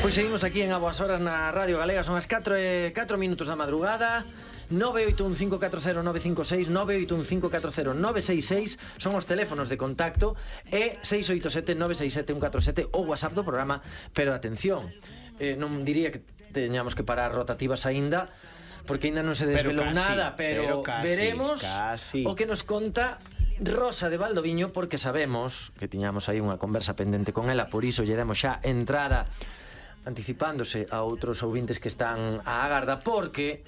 Pois seguimos aquí en A Boas Horas na Radio Galega. Son as 4 minutos da madrugada. 981540956, 981540966 son os teléfonos de contacto e 687-967-147 o WhatsApp do programa. Pero atención, non diría que teñamos que parar rotativas aínda, porque aínda non se desvelou nada, pero veremos o que nos conta Rosa de Valdoviño, porque sabemos que tiñamos aí unha conversa pendente con ela, por iso lle demos xa entrada anticipándose a outros ouvintes que están á agarda, porque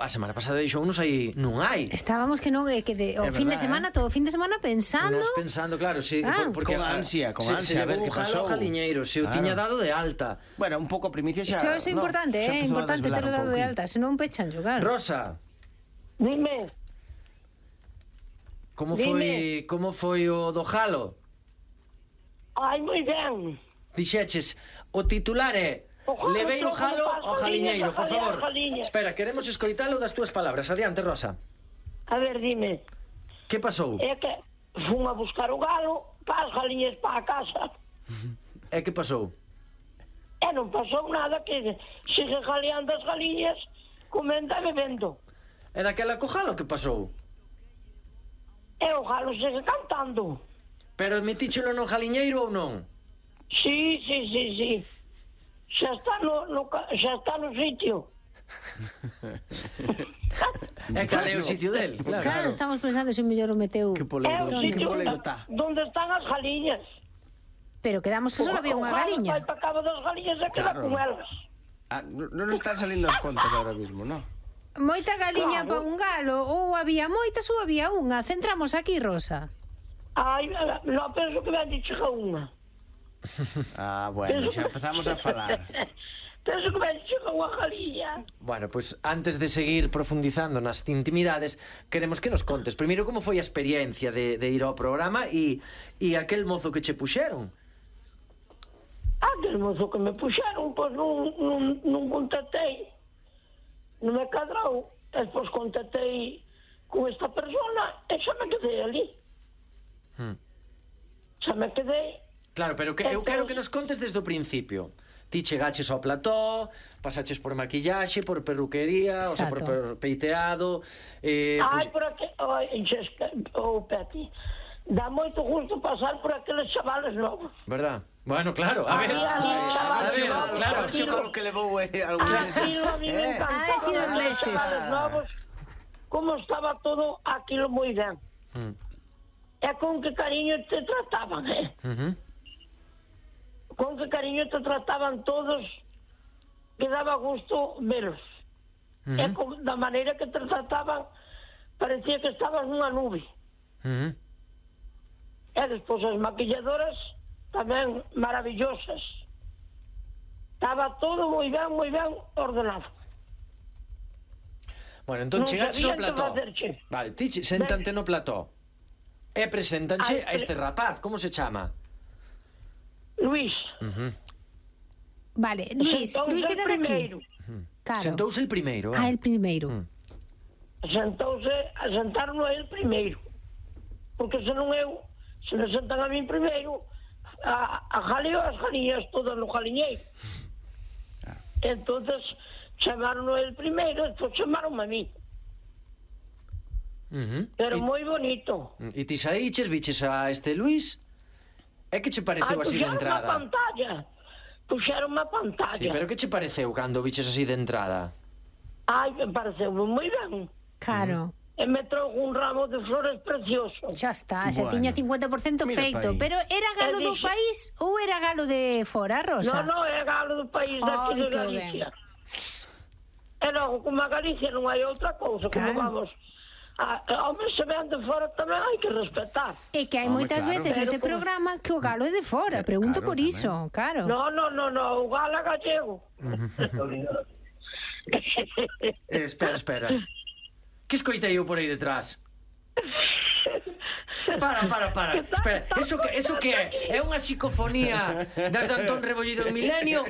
a semana pasada dixo unos aí non hai. Estábamos que non, que o fin de semana, todo o fin de semana pensando. Nos pensando, claro, sí, porque con ansia, a ver que pasou. Jaliñeiro, se o tiña dado de alta. Bueno, un pouco a primicia xa. Eso é importante, é importante ter o dado de alta, senón pechan xogar. Rosa. Dime. Como foi o do Jalo? Ai, moi ben. Dixeches, o titular é levei o Jalo ao Jaliñeiro, por favor. Espera, queremos escoitalo das túas palabras. Adiante, Rosa. A ver, dime. Que pasou? É que fun a buscar o galo para as galiñas para a casa. E que pasou? E non pasou nada, que sigue jaleando as galiñas, comendo e bebendo. E daquela co Jalo que pasou? E o galo sigue cantando. Pero metíchelo no Jaliñeiro ou non? Sí. Xa está no sitio. E cal é o sitio del? Claro, estamos pensando se o mellor o meteu. Que É polego, o que sitio polego está. donde están as galiñas. Pero quedamos que só había unha galiña. O galo vai para cabo das galiñas e queda Claro. con elas. Non nos están salindo as contas ahora mismo, non? Moita galiña Claro. para un galo, ou había moitas ou había unha. Centramos aquí, Rosa. Ai, non penso que ben chega unha. Bueno, xa empezamos a falar. Penso que ben chega unha galiña. Bueno, pois antes de seguir profundizando nas intimidades, queremos que nos contes primeiro como foi a experiencia de ir ao programa e aquel mozo que che puxeron. Aquel mozo que me puxeron, pois non contactei. Non me cadrou. Despois contactei con esta persona e xa me quedei ali. Xa me quedei. Claro, pero eu quero que nos contes desde o principio. Ti chegaches ao plató, pasaches por maquillaxe, por perruquería, o sea, por peiteado. Por aquí, Peti, dá moito gusto pasar por aqueles chavales novos. Verdad? Bueno, claro, a ver, claro, o que levou algúns meses. A mí me encantaba sí, los meses. novos, como estaba todo aquilo moi ben. E con que cariño te trataban, con que cariño te trataban todos, que daba gusto veros. E da maneira que te trataban, parecía que estabas nunha nube. E despois as maquilladoras tamén maravillosas. Estaba todo moi ben ordenado. Bueno, entón chegaches ao plató. Vale, ti séntate no plató e preséntanche a este rapaz. Como se chama? Luís. Vale, Luís era de aquí. Claro. Sentouse el primeiro. El primeiro. Sentaron a el primeiro. Porque senón eu, se me sentan a mí primeiro, a jaleo as galiñas todas no jaliñeiro. Entonces chamaron a el primeiro, despois chamaron a mí. Pero moi bonito. E ti saíches, viches a este Luís? E que che pareceu así de entrada? Puxeron unha pantalla. Sí, pero que che pareceu cando viches así de entrada? Ai, me pareceu moi ben. Claro. E me trouxe un ramo de flores precioso. Xa está, xa tiña 50% feito. Pero era galo do país ou era galo de fora, Rosa? Non, é galo do país daqui de Galicia. E logo, como a Galicia non hai outra cousa, como vamos... Home, se ven de fora tamén hai que respetar. E que hai moitas veces nese programa que o galo é de fora. Pregunto por iso, claro. Non, o galo é gallego. Espera. Que escoitei eu por aí detrás? Para. Espera, eso que é? É unha psicofonía das de Antón Rebollido en Milenio